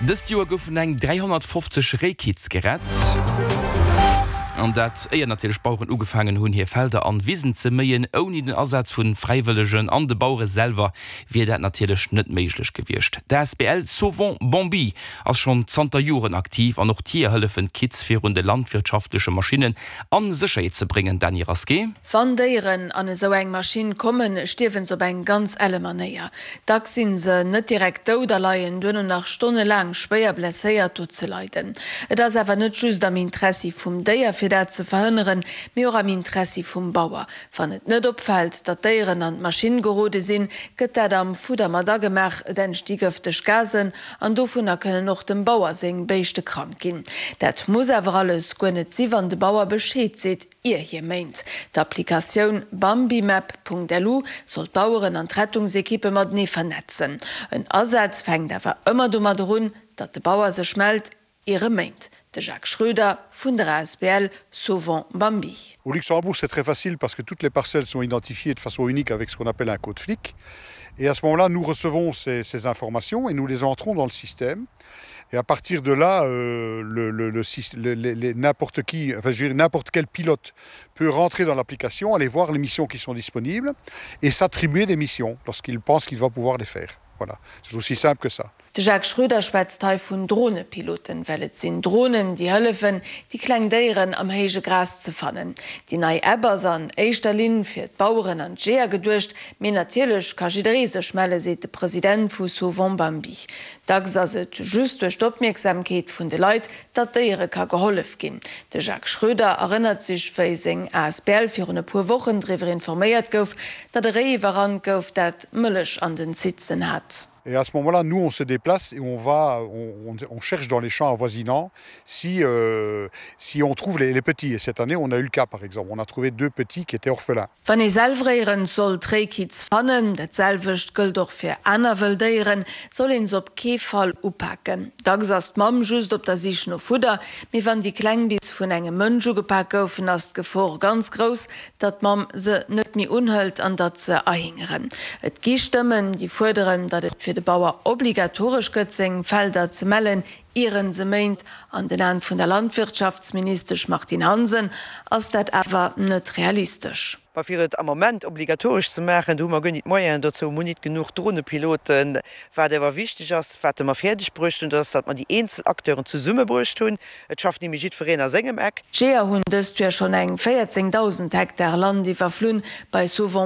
Dëst Joer goufen eng 350 Réikitz gerett. An dat éier natierlech d'Baueren ugefaangen hunn, hir Felder an Wisen ze méien. Ouni den Asaz vu Fräiwëllegen an de Bauere selwer wier dat natierlech net méiglech gewiescht. D'asbl Sauvons Bambi ass schonn zanter Joren aktiv an och d'Jeeër hëllefen d'Kitz virun de landwirtschaftleche Maschinnen a Sécherheet ze bréngen. Dany Rasqué. Wann Déieren an esou eng Maschinn kommen, stierwen se op eng ganz elle Manéier. Dacks sinn se net direkt dout a leien duerno nach stonnelaang schwéier blesséiert do ze leiden. Et ass awer net just am Interessi vum Déier fir dat ze verhënneren, mee och am Interessi vum Bauer. Wann et net opfält, datt d'Déieren an d'Maschinn gerode sinn, gëtt dat am Fudder mat agemaach, et entsti gëfteg Gasen an dovunner kënnen och dem Bauer seng Béischte krank ginn. Dat muss awer alles guer net si wann de Bauer Bescheed seet, ier hie méint. D'Applikatioun bambimap.lu soll d'Baueren an d'Rettungsekippe matenee vernetzen. En Asaz fänkt awer ëmmer domadder un, datt de Bauer sech mellt, ier e méint. De Jacques Schroeder vun der asbl Sauvons Bambi. Au Luxembourg, c'est très facile parce que toutes les parcelles sont identifiées de façon unique avec ce qu'on appelle un code flic. Et à ce moment-là, nous recevons ces, ces informations et nous les entrons dans le système. Et à partir de là, euh, le, le, le, le, le, n'importe qui, enfin, je veux dire, n'importe quel pilote peut rentrer dans l'application, aller voir les missions qui sont disponibles et s'attribuer des missions lorsqu'il pense qu'il va pouvoir les faire. Voilà, c'est aussi simple que ça. De Jacques Schroeder schwätzt hei vun Dronepiloten, well et sinn Dronen, déi hëllefen, déi kleng Déieren am héije Gras ze fannen. Déi nei App ass an éischter Linn fir d'Baueren an d'Jeeër geduecht, mee natierlech ka jidderee sech melle, seet de President vu Sauvons Bambi. Dacks ass et just duerch d'Opmierksamkeet vun de Leit, datt Déiere ka gehollef ginn. De Jacques Schroeder erënnert sech, wéi seng asbl virun e puer Wochen driwwer informéiert gouf, datt e Réi iwwerrannt gouf, dat Mëllech an den Zitzen hat. Et à ce moment-là, nous, on se déplace et on va, on, on, on cherche dans les champs avoisinants si, euh, si on trouve les, les petits. Et cette année, on a eu le cas, par exemple. On a trouvé deux petits qui étaient orphelins. Wann ee selwer éierens sollt Réikitz fannen, dat selwecht gëllt och fir aner wëll Déieren, soll een se op kee Fall upaken. Dacks ass d'Mamm just op der Sich no Fudder, mee wann déi Kleng bis vun engem Mënsch ugepak goufen, ass d'Gefor ganz grouss, datt d'Mamm se net méi unhëlt an datt se erhingeren. Et gi Stëmmen, déi fuerderen, datt et fir de Bauer obligatoresch gëtt, seng Felder ze mellen, ier en se méint. An den Aen vun der Landwirtschaftsministesch Martine Hansen ass dat awer net realistesch. Mä fir et am Moment obligatoresch ze maachen, do hu mer guer nit d'Moyenen dozou, mer hunn nit genuch Dronepiloten. Wat awer wichteg ass, wat mer fäerdeg bruecht hunn, dat ass, datt mer déi eenzel Acteuren zesummebruecht hunn. Et schafft ni méi jiddwereen a sengem Eck. D'Jeeër hunn dëst Joer schonn eng 14.000 Hektar Land iwwerflunn. Bei Sauvons.